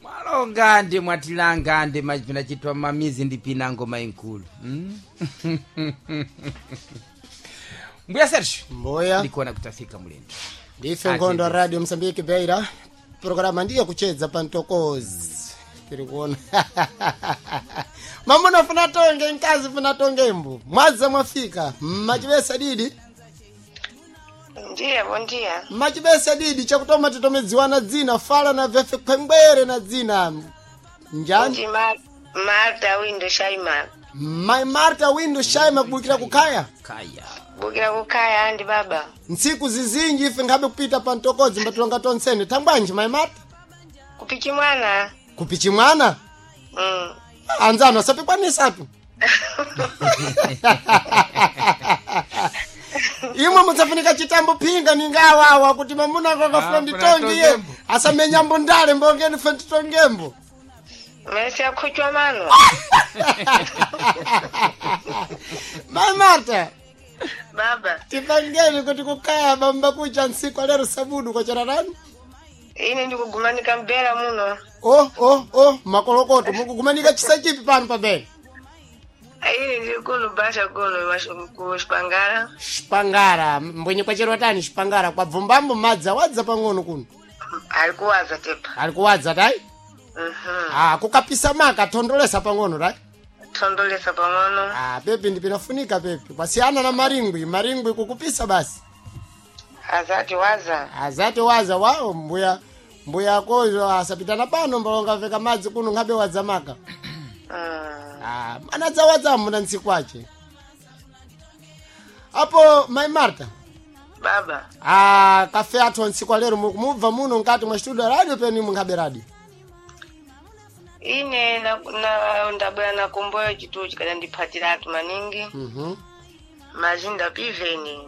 Mwalonga ndi mwatilanga ndi machipina chitwa mamizi ndi pinango mainkulu, Mbuya Sergio. Mboya. Ndikuona kutafika mulendo. Ndife nkhondo Radio Msambiki Beira, programa ndiye kuchedza pa mtokozi. Tiri kuona mamuna funa tonge, mkazi funa tonge, mbu mwadza mwafika mmachibesa didi. Ndiye bondia. Mmachibesa didi chakutoma titomedziwana dzina fala na vefe khwengwere na dzina njani? Ndi Marta Windo Shaima. Mai Marta Windo Shaima, kubukira kukhaya? Kaya. Bukira kukhaya ndi baba. Ntsiku zizinji ife nkhabe kupita pa mtokozi mbatulonga tonsene thangwanji mai Marta? Kupichi mwana. Kupichi mwana? Mm. Anzano asapikwanisatu imwe mudzafunika chitambo phinga ningawawa kuti mamuna ako akafuna Ah, nditongiye funa asamenyambo ndale mbongeni fe nditongembo. Mesi akhuchwa mano. Mai Marta. Baba. Tipangeni kuti kukhaya bamba kucha ntsiku alero sabudu kwachera rani? Ine ndikugumanika mbera muno. Oh oh oh, makolokoto, mukugumanika chisa chipi pano pabele? Ine ndiri kuno basha kuno kushpangara. Xipangara mbwenye kwacherwa tani xipangara kwabvumbambo madzi awadza pang'ono kuno. Ali kuwaza tepa. Ali kuwadza tai? Mhm. Ah, kukapisa maka thondolesa pang'ono tai? Thondolesa pang'ono. Ah, pepi ndipinafunika pepi kwasiyana na maringwi, maringwi kukupisa basi. Azati waza. Azati waza wawo mbuya mbuya akozo asapitana pano mbalongaveka madzi kuno nkhabe wadza maka. Ah, anadzawadza muna ntsiku ace apo mai Marta. Baba. Ah, kafe athu ntsiku alero mukumubva muno mkati mwa studio radio peni munkhabe radio? Ine na ndabwera na kumboyo chituchi kada ndiphatiratu maningi. Mazinda piveni.